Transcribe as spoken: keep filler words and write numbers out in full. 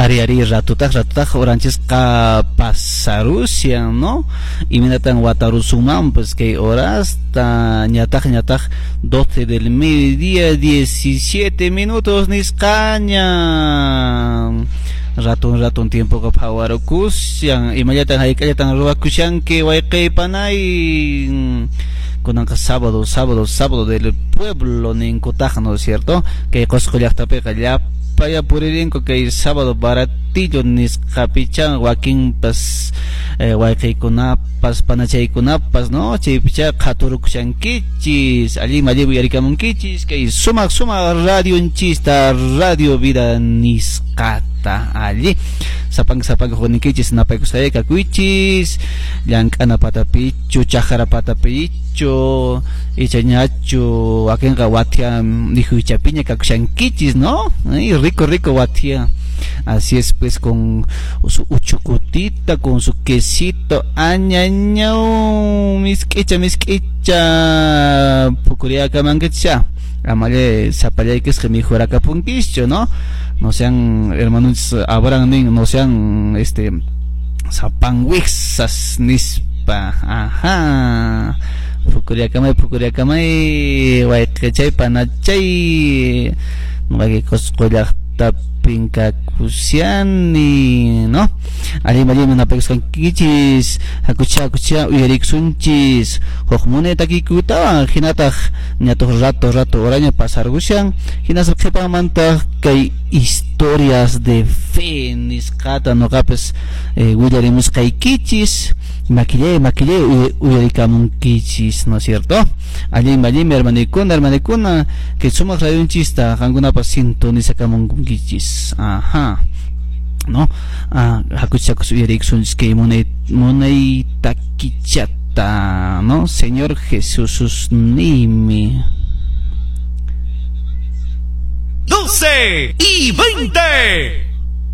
Ari ari ratutaq ratutaq oranchisqa pasarushan, ¿no? Imaynatan watarusunmanpas kay horasta ñataq ñataq doce del mediodía diecisiete minutos nisqaña. Ratun ratun tiempoqa phawarukushan, imallatan hayk'allatan ruwakushanki wayqey panay. Kunanqa sábado, sábado, sábado del pueblo ninkutaq, ¿no es cierto? Kay Qosqo llaqtapiqa llapaya puririnku kay sábado baratillo nisqapicha wakinpas eh, wayqeykunapas panachaykunapas, ¿no? Chaypicha qhaturukushankichis, allin allin uyarikamunkichis kay sumaq sumaq radionchista Radio Vida nisqata alli. Sapanka sapanka hukninkichis napaykusqayqa kakuychis llank'ana patapichu chaqra patapichu icha ñachu wakinqa wathia mikhuychapiña kakushankichis, ¿no? Ay, rico rico wathia. Así es, pues, con su uchucutita, con su quesito, añañau, misk'icha, misk'icha, pukuriakamankicha. Amalle sapallayquisqa mikhurakapunkischu, ¿no? No sean, hermanos, Abraham nin, no sean, este, sapanwixas nispa, ajá. Pukuriakamay, pukuriakamay, wayqichay, panachay, wayqi Qosqo llaqtapin kakushani, ¿no? Allin allinmi napaykusqankichis, hakucha hakucha uyarikusunchis, huk munay takiykutawan, hinataq ñatuq rato rato horaña pasarqushan, hinaspa qhipanmantaq kay historias de fe nisqata nuqapas eh, willarimusqaykichis, maquillé, maquillé uyarikamunkichis, ¿no es cierto? Allin allinmi hermanikuna, hermanikuna, que sumaq radionchista qankunapas sintonizakamunkichis, ajá. ¿No? Ah, hakucha hakucha uyarikusunchis kay munay munay takichata, ¿no? Señor Jesús nimi. doce y veinte.